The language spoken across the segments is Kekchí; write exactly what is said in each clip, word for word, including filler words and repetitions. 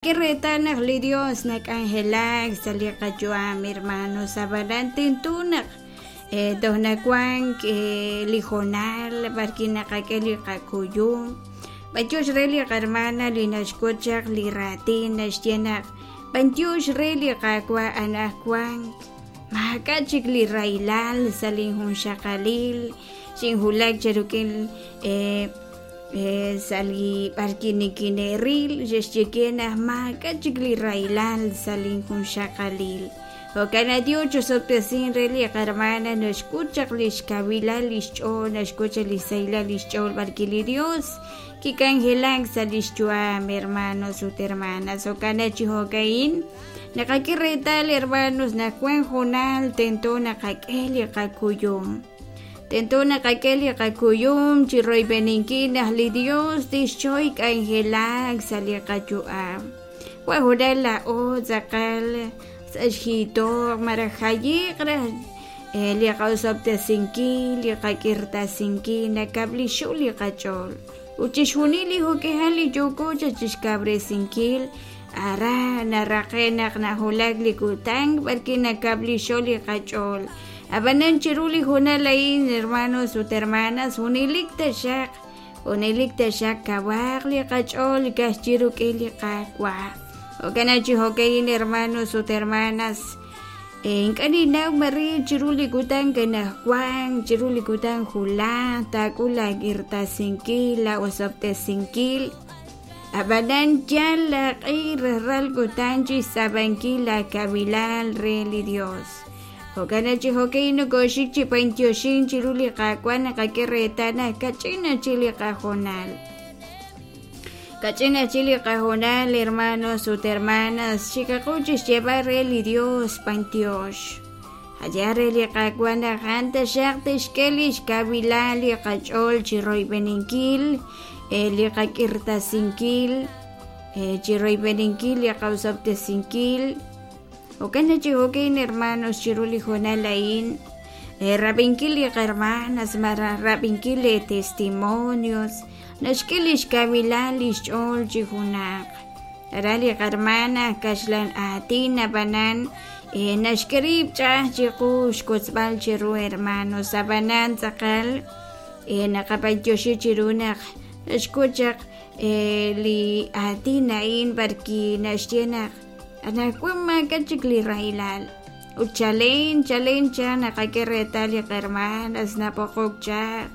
Naqak'e reetal naq li Dios nak'anjelak sa' li qayu'am, hermanos, ab'anan tento naq toj nawank li hoonal b'arwi' naqak'e li qakuyum. B'antiox re li qahermana li naxk'ut chaq li raatin naxye naq b'antiox re li Qaawa' anaqwan maak'a' chik li rahilal sa' linjunxaqalil xinwulak chi rik'in sa' li b'arwi' nikine'ril xe'xye ke naq maak'a' chik li rahilal sa' linjunxaqalil. Jo'kan naq Dios chosob'tesin re li qahermana naxk'ut chaq li xkawilal li xch'ool, naxk'ut chaq li xsahilal li xch'ool b'arwi' li Dios kik'anjelak sa' li xyu'am, hermanos ut hermanas. Jo'kan naq chi jo'ka'in naqak'e reetal, hermanos, naq wank hoonal tento naqak'e li qakuyum. Tento naqak'e li qakuyum chi royb'eninkil naq li Dios tixchoy k'anjelak sa' li qayu'am. Wan hoonal laa'o tz'aqal sa' xjiitoq malaj jayiq raj li qaosob'tesinkil, li qak'irtasinkil nakab'lixu li qach'ool. Ut chixjunil li jo'k'ihal li yooko chixkawresinkil ara naraqe' naq nawulak li kutan b'arwi' nakab'lixo li qach'ool. Ab'anan chiru li hoonal a'in, hermanos ut hermanas, junelik taxaq, junelik taxaq kawaq li qach'ool ka'ajwi' rik'in li Qaawa'. Jo'kan naq chi jo'ka'in, hermanos ut hermanas, ink'a' ninnaw mare chiru li kutan anaqwan, chiru li kutan wulaj taak'ul laak'irtasinkil, laaosob'tesinkil. Ab'anan yal laaq'i rajlal kutan chi xtz'ab'ankil laakawilal re li Dios. Jo'kan naq chi jo'ka'in nokooxik chi b'antioxink chiru li Qaawa' naqak'e reetal naq kach'in chik li qahoonal. Kach'in chik li qahoonal, hermanos ut hermanas, xikaqu chi xyeeb'al re li Dios b'antiox. Allá re li Qaawa' naq a'an taxaq tixk'e li xkawilal li qach'ool chi royb'eninkil, li qak'irtasinkil, chi royb'eninkil li qaosob'tesinkil. Jo'kan naq chi jo'ka'in, hermanos, chiru li hoonal a'in, rab'inkil li qahermanas malaj rab'inkil li testimonios naxk'e li xkawilal li xch'ool chi junaq. Ara li qahermana kaxlan aatin ab'anan naxk'e rib' ch'a'aj chiqu xkotzb'al chiru, hermanos, ab'anan tz'aqal naqab'antioxi chiru naq naxk'ut chaq li aatin a'in b'arwi' naxye naq anaqwan maak'a' chik li rahilal. Ut chalen chalen chaq naqak'e reetal li qahermanas nab'oqok chaq.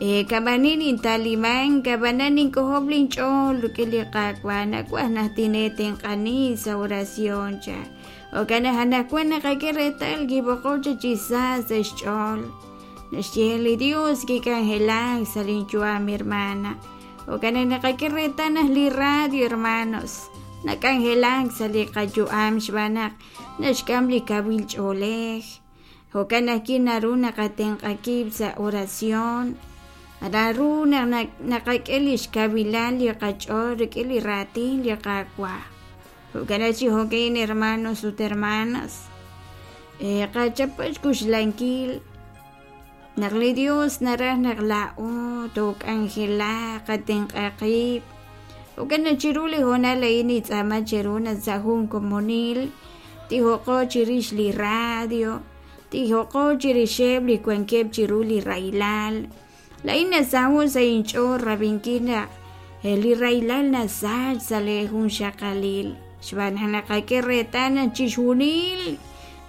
Kab'anin intaliman, kab'anan ink'ojob' linch'ool rik'in li Qaawa' nawaj naq tineetenq'ani sa' oración chaq. Jo'kan naq anaqwan naqak'e reetal kib'oqok chaq chi sa sa' xch'ool. Naxye li Dios kik'anjelak sa' linyu'am, hermana. Jo'kan naq naqak'e reetal naq li radio, hermanos, nak'anjelak sa' li qayu'am xb'aan naq naxk'am li kawil ch'oolej. Jo'kan naq naru naqatenq'a qib' sa' oración. Naru naq naqak'e li xkawilal li qach'ool rik'in li raatin li Qaawa'. Jo'kan naq chi jo'ka'in, hermanos ut hermanas, qachapa xkuxlankil naq li Dios naraj naq laa'o took'anjelaq, qatenq'a qib'. Jo'kan naq chiru li hoonal a'in nitz'aama cheru naq sa' jun komonil tijoqo chirix li radio, tijoqo chirixeb' li wankeb' chiru li rahilal. La'in nasaho' sa' inch'ool rab'inkil naq li rahilal nasach sa' li junxaqalil. Xb'aan naq naqak'e reetal naq chixjunil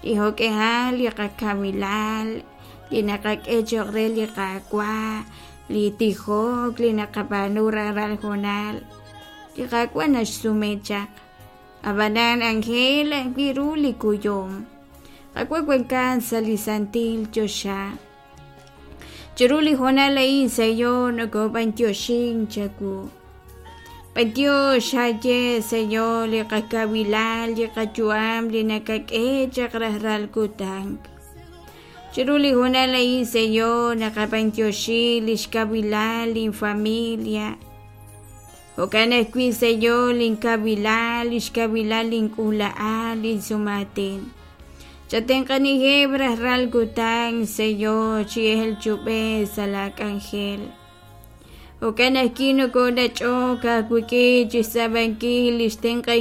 li jo'k'ihal li qakawilal, li naqak'e cho'q re li Qaawa', li tijok, li naqab'aanu rajlal hoonal, li Qaawa' naxsume chaq. Ab'anan Ángel ajwi' ru li kuyum. Qaawa' wankan sa' li santil choxa. Chiru li hoonal a'in, Señor, nokob'antioxin chawu. B'antiox haye, Señor, li qakawilal, li qayu'am, li nakak'e chaq rajlal kutan. Chiru li hoonal a'in, Señor, naqab'antioxi li xkawilal linfamilia. Jo'kan ajwi', Señor, linkawilal, li xkawilal link'uula'al, linsumatin. Chatenq'anijeb' rajlal kutan, Señor, chi el chub'e sa' laak'anjel. Jo'kan ajwi' nokoonach'ok aawik'in chi xtz'aamankil li xtenq'ankil